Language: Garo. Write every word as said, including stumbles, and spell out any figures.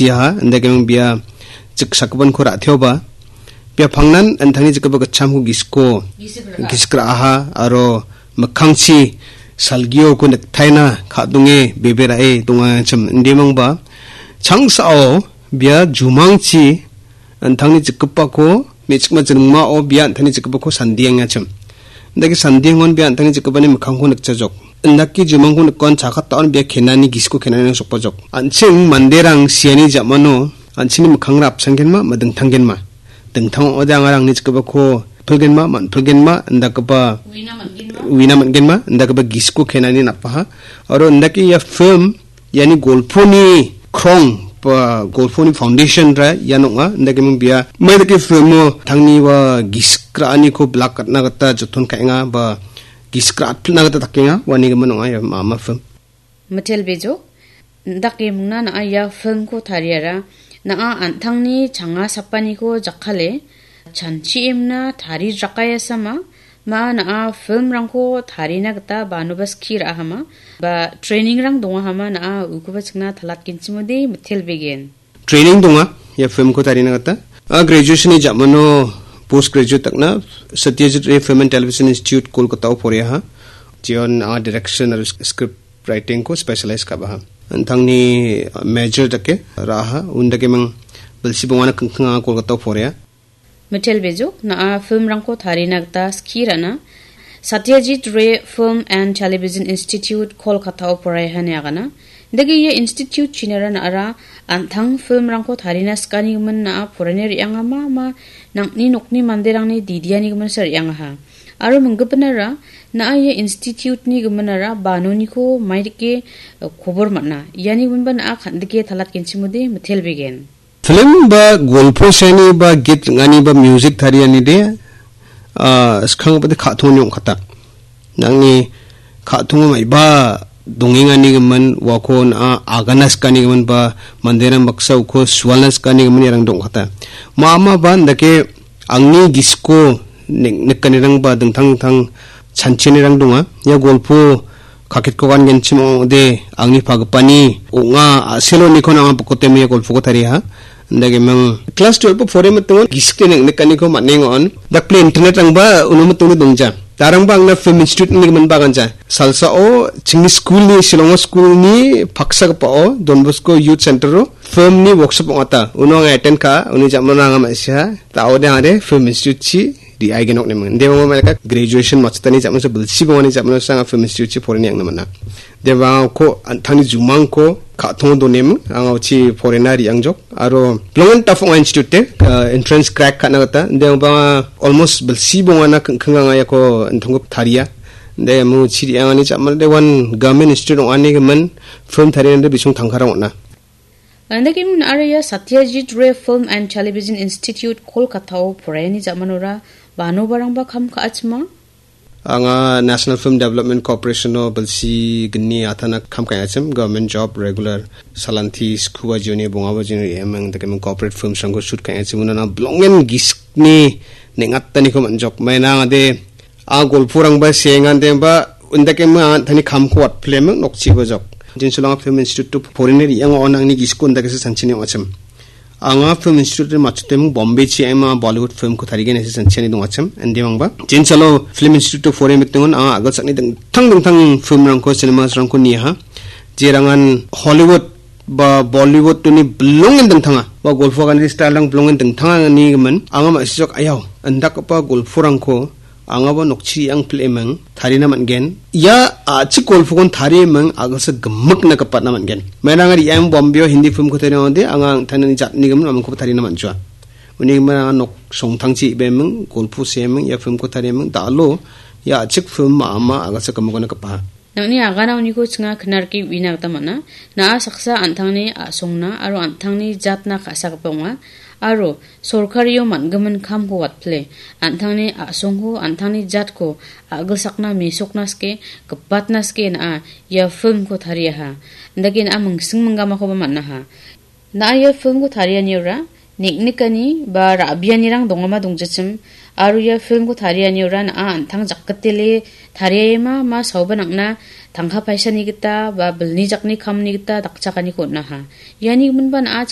Jiaha, indakeming bia jiksakobanko ra·teoba. Bia pangnan an·tangni jikgipa gitchamko gisiko, gisik ra·aha, aro mikkangchi salgioko niktaina ka·donge bebe ra·e dongachim indimangba. Changsao bia jumangchi an·tangni jikgipako me·chikma jringmao bia an·tangni jikgipako sandiengachim. Indake sandiengon bia an·tangni jikgipani mikkangko nikjajok. Indake jumangko nikon chakatao bia kenani gisiko kenani sokbajok. An·ching manderang siani jamano an·chingni mikkangra apsangenma, ma dingtanggenma. Dingtang ong·ode angarangni jikgipako pilgenma, man·pilgenma, indakgipa uina man·genma, uina man·genma, indakgipa gisiko kenani napaha. Aro indake ia film, iani golponi krong, ba golponi foundation-ra ian ong·a. Indakeming bia, mai dake filmo tangni ua gisik ra·aniko bilak gatna gita joton ka·enga, ba gisik ra·atpilna gita dakenga, uanigimin ong·a ia ma·, ma film. Mitel Bejo, indakemingna na·a ia filmko tariara, na·a an·tangni changa sapaniko jakkale, chanchiemna tari rakaiasama, ma na·a filmrangko tarina gita banoba skie ra·ahama, ba trainingrang dongahama na·a ukoba chingna talatgenchimode mitel begen. Training donga, ia filmko tarina gita. A graduation-ni jamano post graduate dakna Satyajit Ray Film and Television Institute Kolkata-o poreaha. Jion a direction aro script writing-ko specialize ka·baha. An·tangni major dake ra·aha, undakeming bilsi bongana kingking anga Kolkata-o porea. Mitel Bejo, na·a filmrangko tarina gita skie ra·na. Satyajit Ray Film and Television Institute Kolkata-o poraiha ine agana. Dake ia institute chinara na·ara an·tang filmrangko tarina sikanigimin na·a poraiani re·angama ma nang·ni nokni manderangni didianigiminsa re·angaha. Aro minggipinara na·a ia institute-ni giminara banoniko maidake, eh, kobor man·a. Iani giminba na·a kan·dike talatgenchimode mitel begen. Film ba golpo seani ba git ring·ani ba music tariani de, ah, skanggipa de ka·tongani ong·kata. Nangni ka·tongo maiba dongengani gimin, uako na·a agana sikani gimin ba manderang baksa uko sualna sikani gimin iarang dong·kata. Ma·a ma ba indake angni gisiko nik-, nikanirang ba dingtang dingtang chanchianirang donga. Ia golpo kaketko gangenchim ong·ode, angni pagipani ong·a, a·seloniko nang·a bokotemi ia golpoko tariaha. Indakeming class twelve-o pore mitingon gisike nik-, nikaniko man·engon. Dakple internet-rangba uno mitingo dongja. Darangba angna film institute-ni gimin baganja. Salsao chingni school-ni, Shillong-o school-ni paksagipao Don Bosco Youth Center-o film-ni workshop ong·ata. Uno anga attend ka·a, uni jamano anga ma·siha. Ta·ode angade film institute-chi re·aigenok neming. Inde mama maleka graduation matchotani jamano bilsi bongani jamano anga film institute-chi poreni angna man·a. Inde mama ko an·tangni jumangko ka·tongo doneming, anga uchi porena re·angjok. Aro bilongen tafong institute-e, ah, entrance crack ka·na gita. Inde mama almost bilsi bongana kingking anga iako an·tangko taria. Inde mama uchi re·angani jamano de one government institute ong·ani gimin film tarianade bisong tangkarang on·a. Indakeming na·ara ia Satyajit Ray Film and Television Institute Kolkata-o poraiani jamanora banobarangba kam ka·achima? Anga National Film Development Corporation-o bilsi gni atana kam ka·achim, government job, regular salanti, skua jioni, bongaba jioni, emang indakeming corporate films-rangko shoot ka·achim, unana bilongen gisikni neng·ataniko man·jok. Maina angade a golporangba seengan demba undakeming an·tangni kamko watpleming nokchiba jok. Jinsolanga Film Institute-o poreni re·ango on angni gisiko undakesa sanchini ong·achim. Anga Film Institute-o matchoteming Bombay-chi ema Bollywood film-ko tarigen ese sanchini dongachim. Indimangba. Jinsalo Film Institute-o poreni mitingon anga agilsakni dingtang dingtang film-rangko, cinemas-rangko niaha. Jerangan Hollywood ba Bollywood-oni bilongen dingtanga, ba golpo ganani style-rang bilongen dingtanga ni gimin, anga ma·sijok ayau, indakgipa golporangko angaba nokchi re·angpil·eming tarina man·gen. Ia a·chik golpokon tarieming agilsa gimikna gipatna man·gen. Maina anga re·ang Bombay-o Hindi film-ko tariangode anga an·tangni jatni gimin amingkoba tarina man·joa. Uni gimin anga nok songtangchi ibeming, golpo seeming, ia film-ko tarieming, dalo ia a·chik film ma·ama agilsa gimikna gipaha. Nangni agana uniko chinga knarki uina gita man·a. Na·a saksa an·tangni a·songna aro an·tangni jatna ka·sagipa ong·a. Aro sorkario man·gimin kamko watpile, an·tangni a·songko, an·tangni jatko a·gilsakna mesokna sike, gipatna sike na·a ia filmko tariaha. Indake na·a mingsing minggamakoba man·aha. Na·a ia filmko tarianiora neng·nikani ba ra·bianirang dongama dongjachim, aro ia filmko tarianiora na·a an·tang jakgitele tariaema ma saoba nang·na tangka paisani gita ba bilni jakni kamni gita dakchakaniko on·aha. Iani giminba na·a